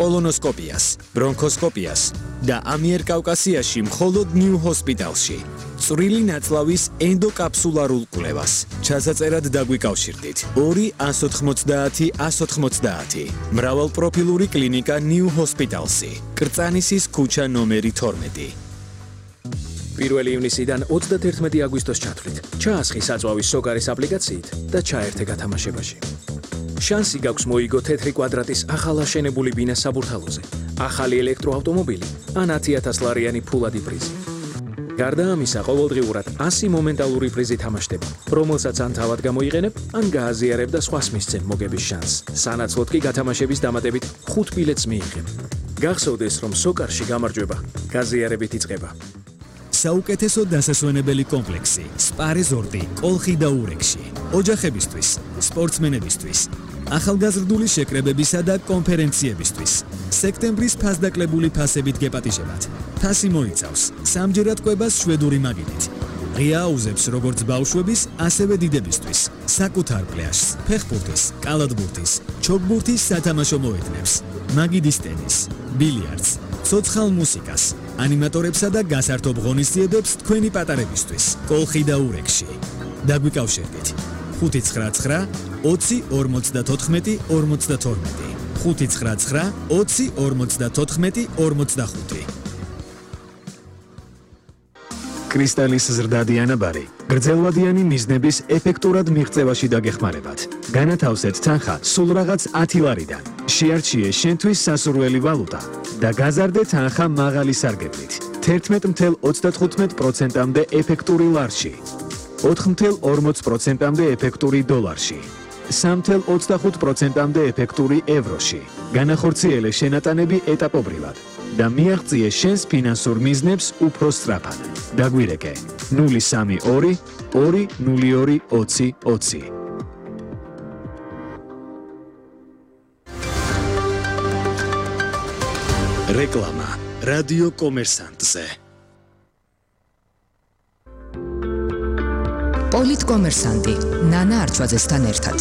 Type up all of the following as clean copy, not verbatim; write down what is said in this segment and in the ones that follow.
კოლონოსკოპიას, ბრონქოსკოპიას და ამიერკავკასიაში მხოლოდ ნიუ ჰოსპიტალში. წვრილი ნაწლავის ენდოკაფსულარულ კვლევას. ჩასაწერად დაგვიკავშირდით 2-190-190. მრავალპროფილური კლინიკა ნიუ ჰოსპიტალსი. კრწანისის ქუჩა ნომერი 12. 1 ივნისიდან 31 აგვისტოს ჩათვლით. ჩაასხი საწვავის სოკარის აპლიკაციით და ჩაერთე გათამაშებაში. შანსი გაქვს მოიგო თეთრი კვადრატის ახალაშენებული ბინა საბურთალოზე, ახალი ელექტროავტომობილი ან 10,000 ლარიანი ფულადი პრიზი. გარდა ამისა, ყოველდღიურად 100 მომენტალური პრიზი თამაშდება, რომელსაც ან თავად გამოიყენებ, ან გააზიარებ და სხვას მისცემ მოგების შანსს. სანაცვლოდ კი გათამაშების დამატებით 5 ბილეთს მიიღებ. გახსოვდეს, რომ სოკარში გამარჯვება გაზიარებით იწყება. საუკეთესო დასასვენებელი კომპლექსი სპა რეზორტი კოლხი და ურეკში. ოჯახებისთვის, სპორტსმენებისთვის, ახალგაზრდული შეკრებებისა და კონფერენციებისთვის. სექტემბრის ფასდაკლებული ფასებით გეპატიჟებათ. ფასი მოიცავს სამჯერად კვებას შვედური მაგიდით. ღია აუზებს როგორც ბავშვების, ასევე დიდებისთვის. საკუთარ პლაჟს, ფეხბურთის, კალათბურთის, ჩოგბურთის სათამაშო მოედნებს, მაგიდის ტენის, ბილიარდს, ცოცხალ მუსიკას, ანიმატორებსა და გასართობ ღონისძიებებს თქვენი პატარებისთვის. კოლხი და ურეკში. დაგვიკავშირდით 599 20 54 52 599 20 54 45. კრისტალის ზრდადი ანაბარი გრძელვადიანი მიზნების ეფექტურად მიღწევაში დაგეხმარებათ. განათავსეთ თანხა სულ რაღაც 10 ლარიდან. შეარჩიე შენთვის სასურველი ვალუტა და გაზარდე თანხა მაღალი სარგებლით. 11.35%-მდე ეფექტური ლარში, 4.40%-მდე ეფექტური დოლარში, 3.25%-მდე ეფექტური ევროში. განახორციელე შენატანები ეტაპობრივად და მიაღწიე შენს ფინანსურ მიზნებს უფრო სწრაფად. დაგვირეკე 032 202 20 20. რეკლამა რადიო კომერსანტზე. პოლიტკომერსანტი ნანა არჩვაძესთან ერთად.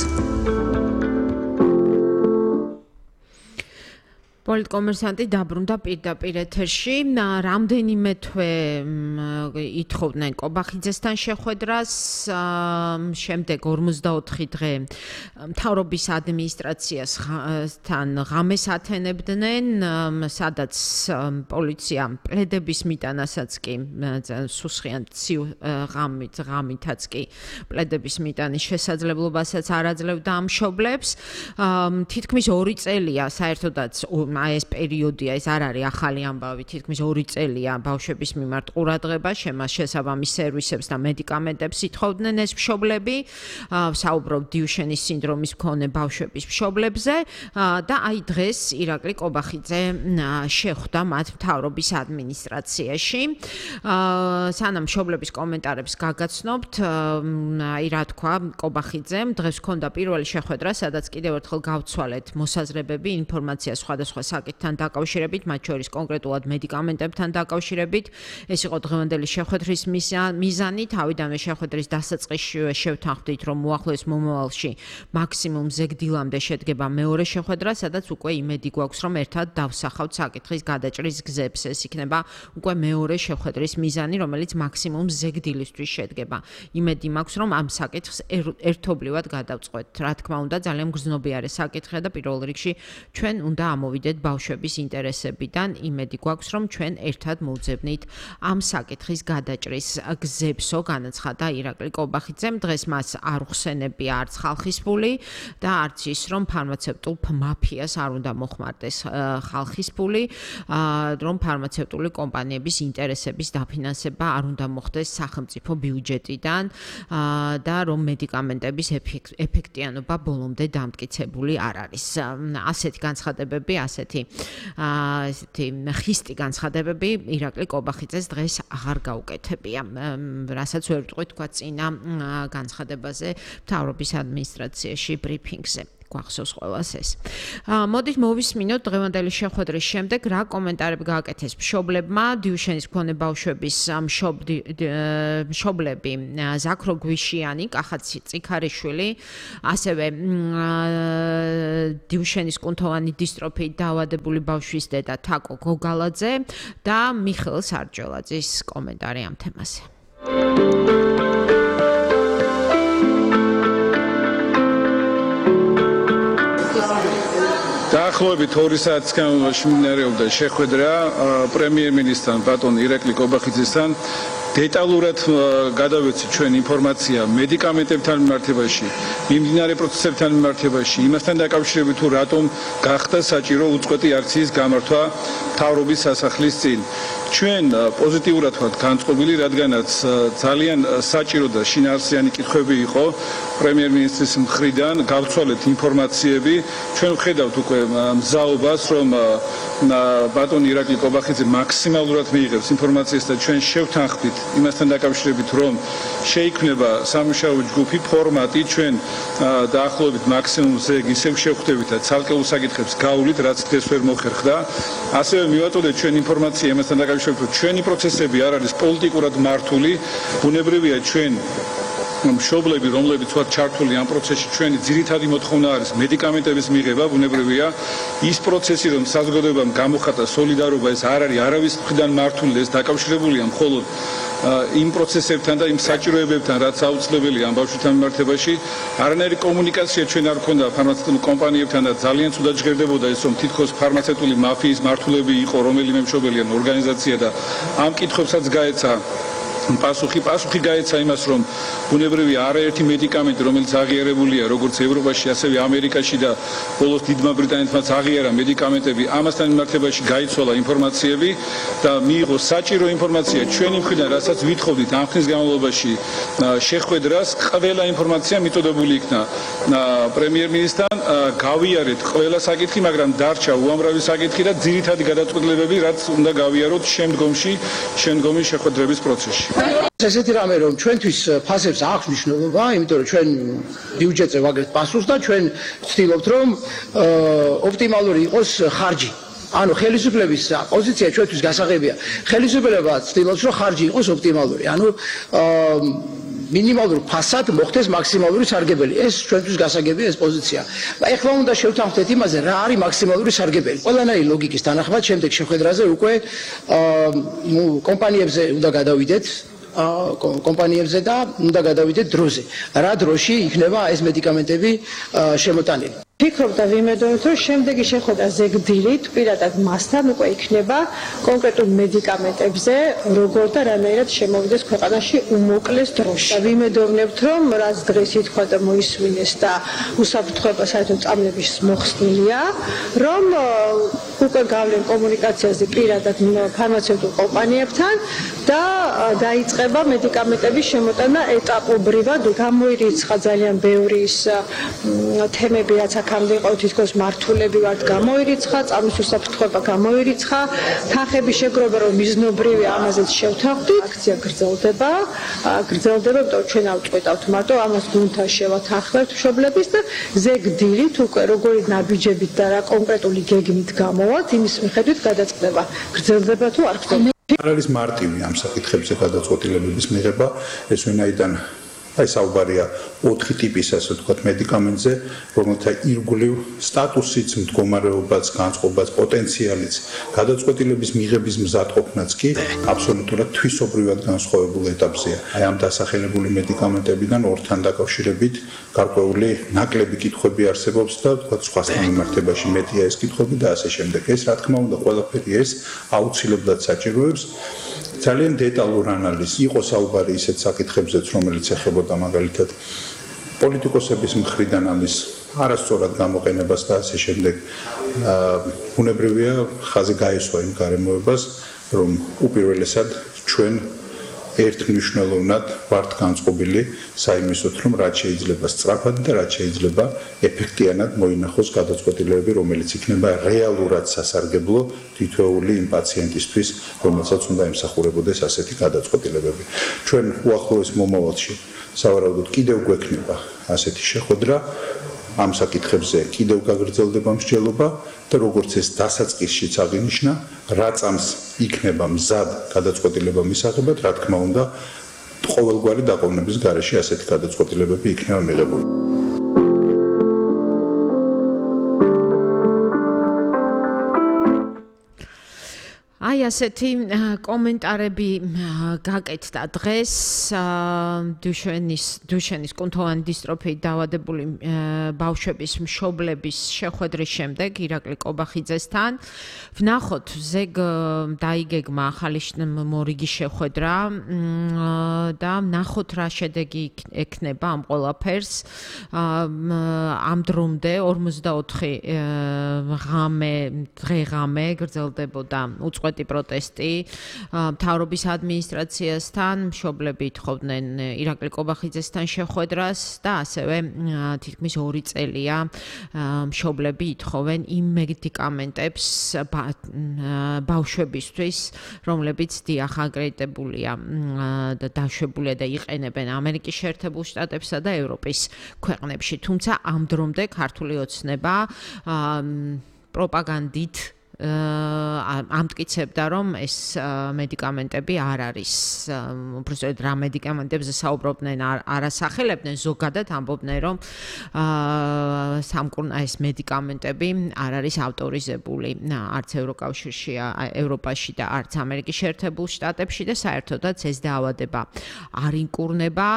პოლიტკომერსანტი დაბრუნდა პირდაპირ ეთერში. რამდენიმე თვე ითხოვდნენ კობახიძესთან შეხვედრას, შემდეგ 44 დღე მთავრობის ადმინისტრაციასთან ღამეს ათენებდნენ, სადაც პოლიცია პლედების მიტანასაც კი სუსხიან ღამითაც კი პლედების მიტანის შესაძლებლობასაც არ აძლევდა ამ მშობლებს. თითქმის 2 წელია საერთოდაც ეს პერიოდია, ეს არ არის ახალი ამბავი, თითქმის 2 წელია ბავშვების მიმართ ყურადღება, შესაბამის სერვისებს და მედიკამენტებს ითხოვდნენ ეს მშობლები, საუბრობ დიუშენის სინდრომის მქონე ბავშვების მშობლებზე და აი დღეს ირაკლი კობახიძე შეხვდა მათ მთავრობის ადმინისტრაციაში. სანამ მშობლების კომენტარებს გაგაცნობთ, აი რა თქვა კობახიძემ, დღეს ჰქონდა პირველი შეხვედრა, სადაც კიდევ ერთხელ გავცვალეთ მოსაზრებები, ინფორმაცია სხვადასხვა საკითხთან დაკავშირებით, მათ შორის კონკრეტულად მედიკამენტებთან დაკავშირებით. ეს იყო დღევანდელი შეხვედრის მიზანი. თავიდანვე შეხვედრის დასაწყისშივე შევთანხმდით, რომ უახლოეს მომავალში მაქსიმუმ ზეგდილამდე შედგება მეორე შეხვედრა, სადაც უკვე იმედი გვაქვს, რომ ერთად დავსახავთ საკითხის გადაჭრის გზებს. ეს იქნება უკვე მეორე შეხვედრის მიზანი, რომელიც მაქსიმუმ ზეგდილისთვის შედგება. იმედი მაქვს, რომ ამ საკითხს ერთობლივად გადავწყვეტ. რა თქმა უნდა, ძალიან გრძნობიარე საკითხია და პირველ რიგში ჩვენ უნდა ამოვიდეთ ბავშვების ინტერესებიდან. იმედი გვაქვს, რომ ჩვენ ერთად მოვძებნით ამ საკითხის გადაჭრის გზებსო, განაცხადა ირაკლი კობახიძემ. დღეს მას არ უხსენებია არც ხალხის ფული და არც ის, რომ ფარმაცევტულ მაფიას არ უნდა მოხმარდეს ხალხის ფული, რომ ფარმაცევტული კომპანიების ინტერესების დაფინანსება არ უნდა მოხდეს სახელმწიფო ბიუჯეტიდან და რომ მედიკამენტების ეფექტიანობა ბოლომდე დამტკიცებული არ არის. ასეთი განცხადებები, ასეთი ხისტი განცხადებები ირაკლი კობახიძეს დღეს აღარ გაუკეთებია. რასაც ვერ ვიტყვით თქვა წინა განცხადებაზე მთავრობის ადმინისტრაციაში ბრიფინგზე. გვახსოვს ყველას ეს. მოდით მოვისმინოთ დღევანდელი შეხვედრის შემდეგ რა კომენტარები გააკეთეს მშობლებმა დიუშენის მქონე ბავშვების მშობლები ზაქრო გვიშიანი, კახაც წიქარიშვილი, ასევე დიუშენის კუნთოვანი დისტროფიით დაავადებული ბავშვის დედა თაკო გოგალაძე და მიხეილ სარჯველაძის კომენტარი ამ თემაზე. დაახლოებით 2 საათის განმავლობაში მიმდინარეობდა შეხვედრა პრემიერ-მინისტრთან ბატონ ირაკლი კობახიძესთან. დეტალურად გადავეცით ჩვენ ინფორმაცია მედიკამენტებთან მიმართებაში, მიმდინარე პროცესებთან მიმართებაში, იმასთან დაკავშირებით თუ რატომ გახდა საჭირო უწყვეტი აქციის გამართვა მთავრობის სასახლის წინ. ჩვენ პოზიტიურად ვართ განწყობილი, რადგანაც ძალიან საჭირო და შინაარსიანი კითხვები იყო პრემიერ-მინისტრის მხრიდან, გავცვალეთ ინფორმაციები. ჩვენ ვხედავთ უკვე მზაობას, რომ ბატონ ირაკლი კობახიძე მაქსიმალურად მიიღებს ინფორმაციას და ჩვენ შევთანხმდით იმასთან დაკავშირებით, რომ შეიქმნება სამუშაო ჯგუფი ფორმატი, ჩვენ დაახლოებით მაქსიმუმზე ისევ შევხვდებით და ცალკეულ საკითხებს გავulit, რაც დღეს ვერ მოხერხდა. ასევე მივაწოდეთ ჩვენ ინფორმაცია იმასთან დაკავშირებით, რომ ჩვენი პროცესები არ არის პოლიტიკურად მართული, ბუნებრივია ჩვენ მშობლები, რომლებიც ვართ ჩართული ამ პროცესში, ჩვენი ძირითადი მოთხოვნა არის მედიკამენტების მიღება, ბუნებრივია. ის პროცესი, რომ საზოგადოებამ გამოხატა სოლიდარობა, ეს არ არის არავის მხრიდან მართული, ეს დაკავშირებულია მხოლოდ იმ პროცესებთან და იმ საჭიროებებთან, რაც აუცილებელია ამ ბავშვთან მიმართებაში. არანაირი კომუნიკაცია ჩვენ არ ქონდა ფარმაცევტულ კომპანიებთან და ძალიან ცუდად ჟღერდებოდა ეს, რომ თითქოს ფარმაცევტული მაფიის მართულები იყო რომელიმე მშობელი ან ორგანიზაცია და ამ კითხვებსაც გაეცა პასუხი გაეცა იმას, რომ ბუნებრივია არაერთი მედიკამენტი, რომელიც აღიარებულია როგორც ევროპაში, ასევე ამერიკაში და ბოლოს დიდმა ბრიტანეთმაც აღიარა მედიკამენტები, ამასთან მიმართებაში გაიცვალა ინფორმაციები და მიიღო საჭირო ინფორმაცია ჩვენი მხრიდან, რასაც ვითხოვდით ამ ხნის განმავლობაში შეხვედრას. ყველა ინფორმაცია მიწოდებული იქნა პრემიერ-მინისტრთან, გავიარეთ ყველა საკითხი, მაგრამ დარჩა უამრავი საკითხი და ძირითადი გადაწყვეტილებები, რაც უნდა გავიაროთ შემდგომი შეხვედრების პროცესში. ესეთი რამე რომ ჩვენთვის ფასებს აქვს მნიშვნელობა, იმიტომ რომ ჩვენ ბიუჯეტზე ვაგებთ პასუხს და ჩვენ ვცდილობთ რომ ოპტიმალური იყოს ხარჯი. ანუ ხელისუფლების პოზიცია ჩვენთვის გასაღებია. ხელისუფლება ცდილობს რომ ხარჯი იყოს ოპტიმალური. ანუ მინიმალურ ფასად მოხდეს მაქსიმალური სარგებელი. ეს ჩვენთვის გასაგებია ეს პოზიცია. ეხლა უნდა შევთანხმდეთ იმაზე, რა არის მაქსიმალური სარგებელი. ყველანაირი ლოგიკის თანახმად შემდეგ შეხვედრაზე უკვე კომპანიებზე უნდა გადავიდეთ. კომპანიებზე და უნდა გადავიდეთ დროზე. რა დროში იქნება ეს მედიკამენტები შემოტანილი. ვფიქრობ და ვიმედოებ, რომ შემდეგი შეხვედრა ზეგდირით პირადად მასთან უკვე იქნება კონკრეტულ მედიკამენტებზე, როგორ და რანაირად შემოვიდეს ქვეყანაში უმოკლეს დროში. ვიმედოვნებთ, რომ რაც დღეს ითქვა და მოისმინეს და უსაფრთხოება საერთოდ წამლების მოხსნილია, რომ უკვე გავლენ კომუნიკაციაზე პირადად ფარმაცევტულ კომპანიებთან და დაიწყება მედიკამენტების შემოტანა ეტაპობრივად. გამოირიცხა ძალიან ბევრი ის თემები, რაც აქამდე იყო თითქოს მართულები ვართ, გამოირიცხა, წამლის უსაფრთხოება გამოირიცხა, თანხების შეგროვება რომ მიზნობრივი ამაზეც შევთანხმდით. აქცია გრძელდება, იმიტომ რომ ჩვენ ავწყვეტავთ მარტო ამას გუნდთან შევათანხმებთ მშობლების და ზეგდირით უკვე როგორი ნაბიჯებით და რა კონკრეტული გეგმით გამოვალთ, იმის მიხედვით გადაწყდება. გრძელდება თუ არ გრძელდება. არ არის მარტივი ამ საკითხებზე გადაწყვეტილებების მიღება, ეს ვინაიდან საუბარია 4 ტიპის, ასე ვთქვათ, მედიკამენტზე, რომელთა ირგვლივ სტატუსიც, მდგომარეობაც, განწყობაც, პოტენციალიც, გადაწყვეტილების მიღების მზადყოფნაც კი აბსოლუტურად თვისობრივად განსხვავებულ ეტაპზეა. აი ამ დასახელებული მედიკამენტებიდან ორთან დაკავშირებით გარკვეული ნაკლები კითხვები არსებობს და ვთქვათ, სხვასთან მიმართებაში მეტია ეს კითხვები და ასე შემდეგ. ეს რა თქმა უნდა, ყველაფერი ეს აუცილებლად საჭიროებს ძალიან დეტალურ ანალიზს. იყო საუბარი ისეთ საკითხებზეც, რომელიც ეხებოდა მაგალითად პოლიტიკოსების მხრიდან ამის არასწორად გამოყენებას და ასე შემდეგ. ბუნებრივია ხაზი გაესვა იმ გარემოებას, რომ უპირველესად ჩვენ ერთმნიშვნელოვნად ვართ განწყობილი საიმისოთ, რომ რაც შეიძლება სწრაფად და რაც შეიძლება ეფექტიანად მოინახოს გადაწყვეტილებები, რომელიც იქნება რეალურად სასარგებლო თითოეული იმ პაციენტისთვის, რომელსაც უნდა ემსახურებოდეს ასეთი გადაწყვეტილებები. ჩვენ უახლოეს მომავალში სავარაუდოდ კიდევ გვექნება ასეთი შეხვედრა. ამ საკითხებზე კიდევ გაგრძელდება მსჯელობა და როგორც ეს დასაწყისშიც აღინიშნა, რა წამს იქნება მზად გადაწყვეტილება მისაღებად, რა თქმა უნდა, ყოველგვარი დაყოვნების გარეშე ასეთი გადაწყვეტილებები იქნება მიღებული. აი ასეთი კომენტარები გაკეთდა დღეს დუშენის კუნთოვანი დისტროფიით დაავადებული ბავშვების მშობლების შეხვედრის შემდეგ ირაკლი კობახიძესთან. ვნახოთ ზეგ დაიგეგმა ახალი მორიგი შეხვედრა და ვნახოთ რა შედეგი ექნება ამ ყველაფერს. ამ დრომდე 44 დღე-ღამე გრძელდებოდა უწყვეტი პროტესტი მთავრობის ადმინისტრაციასთან, მშობლები ითხოვდნენ ირაკლი კობახიძესთან შეხვედრას და ასევე თითქმის 2 წელია მშობლები ითხოვენ იმ მედიკამენტებს ბავშვებისთვის, რომლებიც დიახ აკრედიტებულია და დაშვებულია და იყენებენ ამერიკის შეერთებულ შტატებსა და ევროპის ქვეყნებში. თუმცა ამ დრომდე ქართული ოცნება პროპაგანდით ამტკიცებდა, რომ ეს მედიკამენტები არ არის. უბრალოდ რა მედიკამენტებზე საუბრობდნენ, არ ასახელებდნენ, ზოგადად ამბობდნენ, რომ ეს მედიკამენტები არ არის ავტორიზებული არც ევროკავშირში, ევროპაში და არც ამერიკის შეერთებულ შტატებში და საერთოდაც ეს დაავადება არ ინკურნება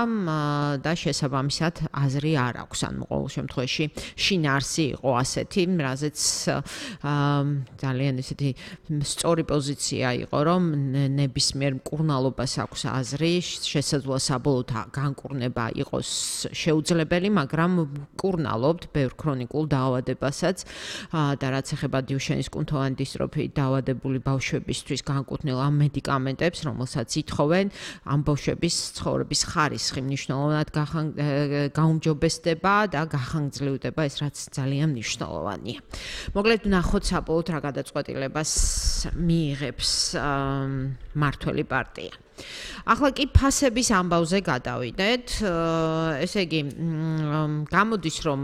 და შესაბამისად აზრი არ აქვს. ან ყოველ შემთხვევაში შინაარსი იყო ასეთი, რაზეც ძალიან ესეთი სწორი პოზიცია იყო, რომ ნებისმიერ მკურნალობას აქვს აზრი, შესაძლოა საბოლოოდ განკურნება იყოს შეუძლებელი, მაგრამ მკურნალობთ ბევრ ქრონიკულ დაავადებასაც და რაც ეხება დუშენის კუნთოვანი დისტროფიით დაავადებული ბავშვებისთვის განკუთვნილ ამ მედიკამენტებს, რომელსაც ითხოვენ, ამ ბავშვების ცხოვრების ხარისხი მნიშვნელოვნად გაუმჯობესდება და გახანგრძლივდება, ეს რაც ძალიან მნიშვნელოვანია. მოკლედ ვნახოთ საბოლოოდ რა გადაწყვეტილებას მიიღებს მმართველი პარტია. ახლა კი ფასების ამბავზე გადავიდეთ. ესე იგი, გამოდის რომ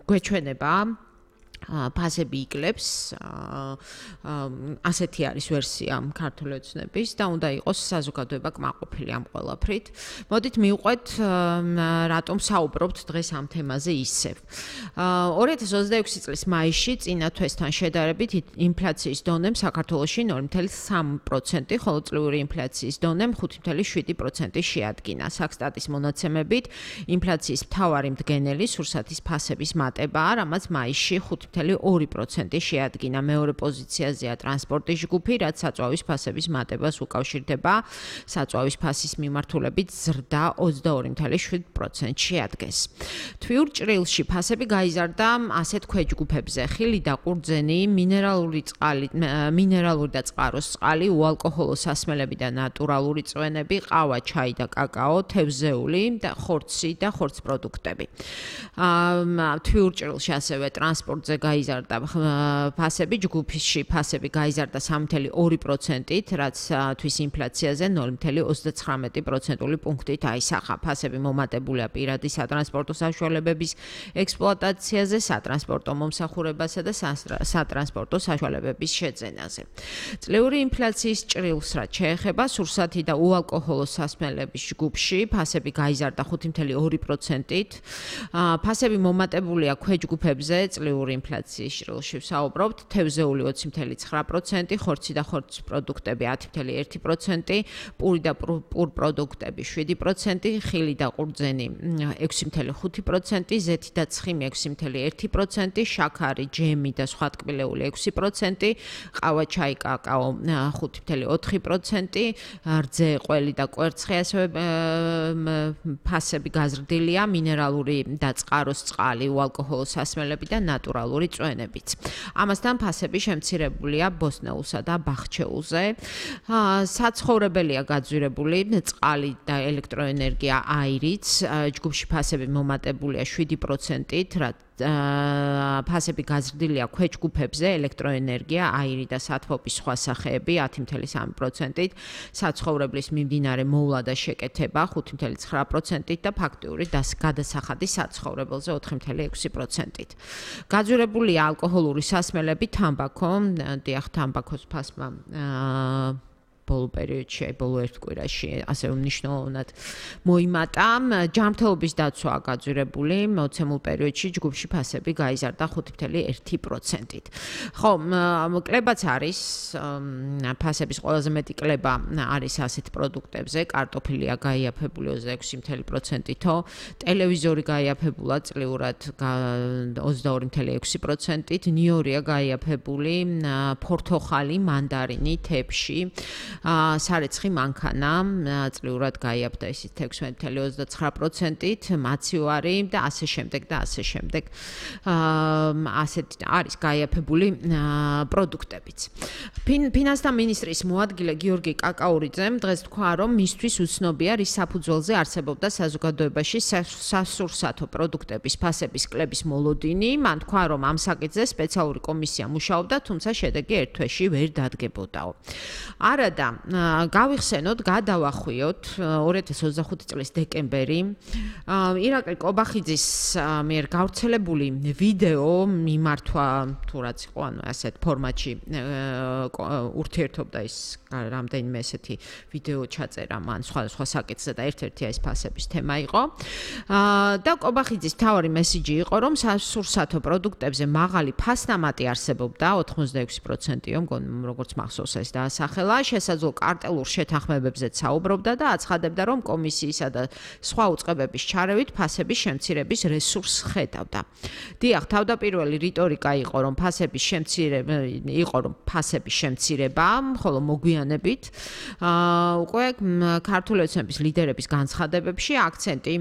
გვეჩვენება ფასები იკლებს, ასეთი არის ვერსია ქართული ოცნების და უნდა იყოს საზოგადოება კმაყოფილი ამ ყველაფრით. მოდით მივყვეთ რატომ საუბრობთ დღეს ამ თემაზე ისევ. 2026 წლის მაისში წინა თვესთან შედარებით ინფლაციის დონემ საქართველოში 0.3%, ხოლო წლიური ინფლაციის დონემ 5.7% შეადგინა. საქსტატის მონაცემებით ინფლაციის მთავარი მდგენელი სურსათის ფასების მატებაა, რამაც მაისში 5.2% შეადგინა. მეორე პოზიციაზეა ტრანსპორტის ჯგუფი, რაც საწვავის ფასების მატებას უკავშირდება. საწვავის ფასის მიმართულებით ზრდა 22.7% შეადგენს. თვიურ ჭრილში ფასები გაიზარდა ასეთ ქვეჯგუფებზე: ხილი და ყურძენი, მინერალური და წყაროს წყალი, უალკოჰოლო სასმელები და ნატურალური წვენები, ყავა, ჩაი და კაკაო, თევზეული და ხორცი და ხორცპროდუქტები. თვიურ ჭრილში ასევე ტრანსპორტზე გაიზარდა ფასები, ჯგუფში ფასები გაიზარდა 3.2%-ით, რაც თვის ინფლაციაზე 0.39% პუნქტით აისახა. ფასები მომატებულია პირადი სატრანსპორტო საშუალებების ექსპლუატაციაზე, სატრანსპორტო მომსახურებასა და სატრანსპორტო საშუალებების შეძენაზე. წლიური ინფლაციის ჭრილს რაც შეეხება, სურსათი და უალკოჰოლო სასმელების ჯგუფში ფასები გაიზარდა 5.2%-ით. ფასები მომატებულია ქვეჯგუფებზე, წლიური ინფლაციის ჭრილში ვსაუბრობთ, თევზეული 20.9%, ხორცი და ხორცპროდუქტები 10.1%, პური და პურპროდუქტები 7%, ხილი და ყურძენი 6.5%, ზეთი და ცხიმი 6.1%, შაქარი, ჯემი და სხვა ტკბილეული 6%, ყავა, ჩაი, კაკაო 5.4%, რძე, ყველი და კვერცხი ასევე ფასები გაზრდილია, მინერალური და წყაროს წყალი, უალკოჰოლო სასმელები და ნატურალური წვენებიც. ამასთან ფასები შემცირებულია ბოსნეულსა და ბახჩეულზე. საცხოვრებელია გაძვირებული წყალი და ელექტროენერგია აირიც. ჯგუფში ფასები მომატებულია 7%-ით, ფასები გაზრდილია ქვეჯგუფებზე, ელექტროენერგია, აირი და სათბობის სხვა სახეები 10.3%-ით, საცხოვრებლის მიმდინარე მოვლა და შეკეთება 5.9%-ით და ფაქტიური გადასახადი საცხოვრებელზე 4.6%-ით. გაძვირებულია ალკოჰოლური სასმელები, თამბაქო, თამბაქოს ფასმა ბოლო პერიოდში, ბოლო ერთ კვირაში ასე მნიშვნელოვნად მოიმატა. ჯანმრთელობის დაცვაა გაძვირებული, მოცემულ პერიოდში ჯგუფში ფასები გაიზარდა 5.1%-ით. ხო, კლებაც არის, ფასების ყველაზე მეტი კლება არის ასეთ პროდუქტებზე, კარტოფილია გაიაფებული 26.6%-ით, ტელევიზორი გაიაფებულა წლიურად 22.6%-ით, ნიორია გაიაფებული, ფორთოხალი, მანდარინი, თეფში, სარეცხი მანქანა წლიურად გაიაფდა ისიც 16.29%-ით, მაცივარი და ასე შემდეგ და ასე შემდეგ. ასეთ არის გაიაფებული პროდუქტებიც. ფინანსთა მინისტრის მოადგილე გიორგი კაკაურიძემ დღეს თქვა, რომ მისთვის უცნობია, რის საფუძველზე არსებობდა საზოგადოებაში სასურსათო პროდუქტების ფასების კლების მოლოდინი. მან თქვა, რომ ამ საკითხზე სპეციალური კომისია მუშაობდა, თუმცა შედეგი ერთ თვეში ვერ დადგებოდაო. არადა გავიხსენოთ, გადავახვიოთ 2025 წლის დეკემბერი ირაკლი კობახიძის მიერ გავრცელებული ვიდეო მიმართვა თუ რაც იყო, ანუ ასეთ ფორმატში ურთიერთობდა ის რამდენიმე ესეთი ვიდეო ჩაწერა მან სხვა საკითხზე და ერთ-ერთი ეს ფასების თემა იყო. და კობახიძის მთავარი მესიჯი იყო, რომ სასურსათო პროდუქტებზე მაღალი ფასნამატი არსებობდა 86%-ო, მგონი როგორც მახსოვს ეს დაასახელა, შესაძლო კარტელურ შეთანხმებებზეც საუბრობდა და აცხადებდა, რომ კომისიისა და სხვა უწყებების ჩარევით ფასების შემცირების რესურსს ხედავდა. დიახ, თავდაპირველი რიტორიკა იყო, რომ ფასების შემცირება, ხოლო მოგვიანებით უკვე ქართული ოცნების ლიდერების განცხადებებში აქცენტი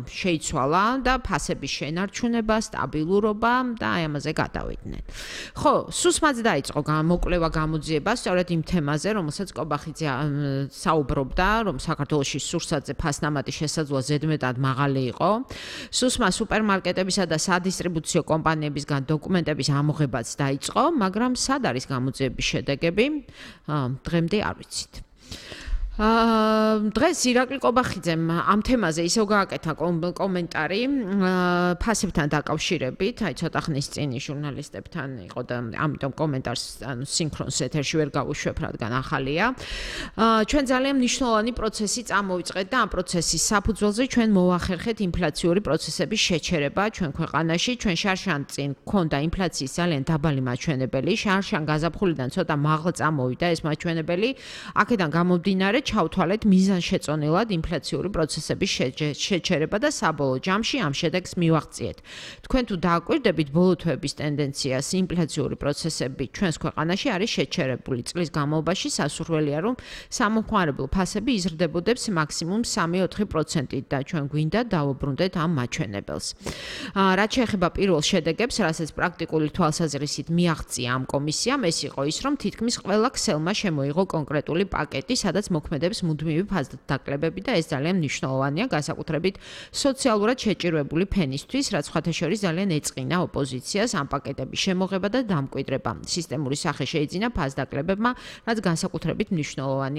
შეიცვალა და ფასების შენარჩუნება, სტაბილურობა და აი ამაზე გადავიდნენ. ხო, სუსმაც დაიწყო მოკვლევა გამოძიება სწორედ იმ თემაზე, რომელსაც კობახიძე საუბრობდა, რომ საქართველოში სურსათზე ფასნამატი შესაძლოა ზედმეტად მაღალი იყო. სუსმა სუპერმარკეტებისა და სადისტრიბუციო კომპანიებისგან დოკუმენტების ამოღებაც დაიწყო, მაგრამ სად არის გამოძიების შედეგები? დღემდე არ ვიცით. დღეს ირაკლი კობახიძემ ამ თემაზე ისევ გააკეთა კომენტარი ფასებთან დაკავშირებით, აი ცოტა ხნის წინ ჟურნალისტებთან იყო და ამიტომ კომენტარს სინქრონს ეთერში ვერ გავუშვებ, რადგან ახალია. ჩვენ ძალიან მნიშვნელოვანი პროცესი წამოვიწყეთ და ამ პროცესის საფუძველზე ჩვენ მოვახერხეთ ინფლაციური პროცესების შეჩერება ჩვენ ქვეყანაში. ჩვენ შარშან წინ გქონდა ინფლაციის ძალიან დაბალი მაჩვენებელი, შარშან გაზაფხულიდან ცოტა მაღლა წამოვიდა ეს მაჩვენებელი. აქედან გამომდინარე ჩავთვალეთ მიზანშეწონილად ინფლაციური პროცესების შეჩერება და საბოლოო ჯამში ამ შედეგს მივაღწიეთ. თქვენ თუ დააკვირდებით ბოლო თვეების ტენდენციას, ინფლაციური პროცესები ჩვენს ქვეყანაში არის შეჩერებული. წლის განმავლობაში სასურველია, რომ სამომხმარებლო ფასები იზრდებოდებს მაქსიმუმ 3-4%-ით და ჩვენ გვინდა დავუბრუნდეთ ამ მაჩვენებელს. რაც შეეხება პირველ შედეგებს, რასაც პრაქტიკული თვალსაზრისით მიაღწია ამ კომისიამ, ეს იყო ის, რომ თითქმის ყველა ქსელმა შემოიღო კონკრეტული პაკეტი, სადაც მოქმედებს მუდმივი ფასდაკლებები და ეს ძალიან მნიშვნელოვანია, განსაკუთრებით სოციალურად შეჭირვებული ფენისთვის, რაც სხვათა შორის ძალიან ეწყინა ოპოზიციას ამ პაკეტების შემოღება და დამკვიდრება. სისტემური სახე შეიძინა ფასდაკლებებმა, რაც განსაკუთრებით მნიშვნელოვანია